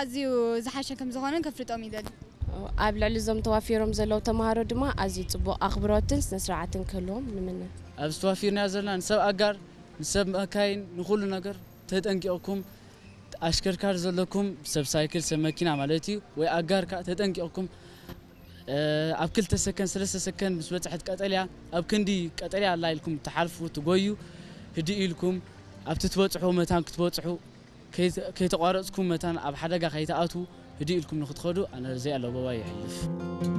ኣዝዩ ዝሓሸ ከም ዝኾነ ከፍልጦም ይደሊ። ኣብ ልዕሊ እዞም ተዋፊሮም ዘለዉ ተምሃሮ ድማ ኣዝዩ ጽቡቕ ኣኽብሮትን ስነ ስርዓትን ክህልዎም ንምነ። ኣብዚ ተዋፊርና ዘለና ንሰብ ኣጋር፣ ንሰብ መካይን፣ ንኹሉ ነገር ተጠንቂቕኩም፣ ኣሽከርካሪ ዘለኩም ሰብ ሳይክል ሰብ መኪና ማለት እዩ ወይ ኣጋር ከዓ ተጠንቂቕኩም፣ ኣብ ክልተ ሰከንድ ሰለስተ ሰከንድ ምስ በፅሐት ቀጠልያ ኣብ ክንዲ ቀጠልያ ኣላ ኢልኩም ትሓልፉ ትጎዩ፣ ህድእ ኢልኩም ኣብቲ ትበፅሑ መታን ክትበፅሑ ከይተቋረፅኩም መታን ኣብ ሓደጋ ከይትኣትዉ ህድእ ኢልኩም ንክትኸዱ ኣነ ዘይ ኣለዎ ባባ ይሕልፍ።